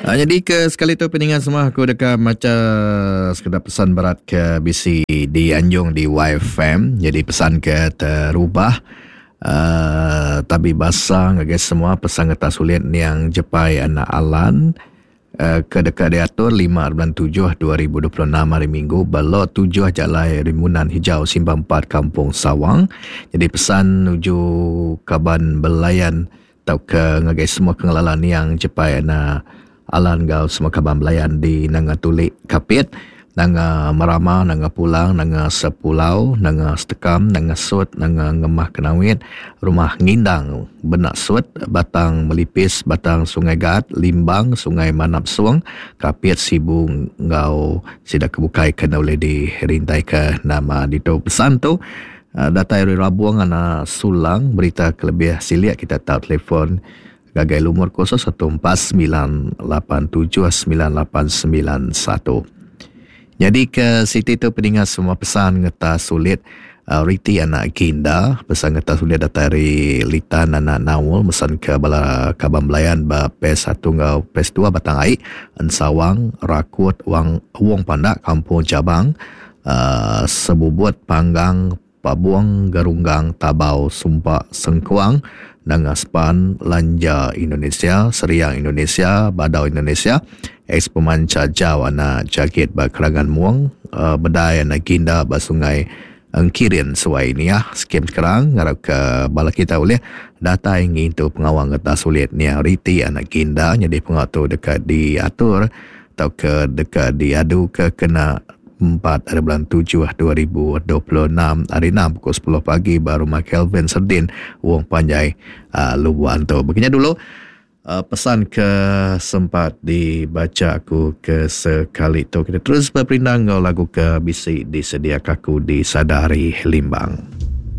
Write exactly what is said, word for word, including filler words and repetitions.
Uh, jadi ke sekali tu peningan semua aku deka macha sekeda pesan berat ke bisi di Anjung di Y F M. Jadi pesan ke terubah uh, tabi basa ngagai semua pesan ngetas sulit yang jepai anak Alan uh, ke dekat diatur lima bulan tujuh dua ribu dua puluh enam hari Minggu belok tujuh Jalai Rimunan Hijau Simpang empat Kampung Sawang. Jadi pesan nuju kaban belayan tau ke ngagai semua pengalalan yang jepai anak Alan gau semua kaban belayan di Nanga Tulik Kapit, Nanga Merama, Nanga Pulang, Nanga Sepulau, Nanga Setekam, Nanga Sut, Nanga Ngemah Kenawit, Rumah Ngindang, Benak Sut, Batang Melipis, Batang Sungai Gaat, Limbang, Sungai Manap Suang, Kapit, Sibu ngau sida kebukai kena boleh dirintai ke nama dito pesan tu. Datai dari Rabuang anak Sulang, berita kelebih siliak kita tahu telefon gagai lumur kosong satu empat sembilan lapan tujuh sembilan lapan sembilan satu. Jadi ke siti tu peningat semua pesan ngeta sulit uh, Riti anak Ginda, pesan ngeta sulit datai dari Litan anak Naul, pesan ke bala kaban belayan ba P satu ngau P dua Batang Ai, Ensawang, Rakut, Wang Wong Pandak, Kampung Cabang, uh, Sebubut, Panggang, Pabuang, Gerunggang, Tabau, Sumpak, Sengkuang, Nanga Span, Lanja Indonesia, Seriang Indonesia, Badau Indonesia, ex pemanca Jawa anak Jagit ba Kerangan Muang, uh, Bedai anak Ginda ba Sungai Engkirin Suai ni ya. Skim sekarang ngarap ke bala kita boleh data ingin tu pengawang kata sulit ni Riti anak Ginda jadi pengatur dekat diatur atau ke dekat diadu ke kena empat hari bulan tujuh dua ribu dua puluh enam hari enam pukul sepuluh pagi baru rumah Kelvin Serdin Wong Panjai uh, Lubuan tu. Begini dulu uh, pesan ke sempat dibaca aku ke sekali tu. Kita terus berperindang ngau lagu ke bisi disediakan aku di Sadari Limbang.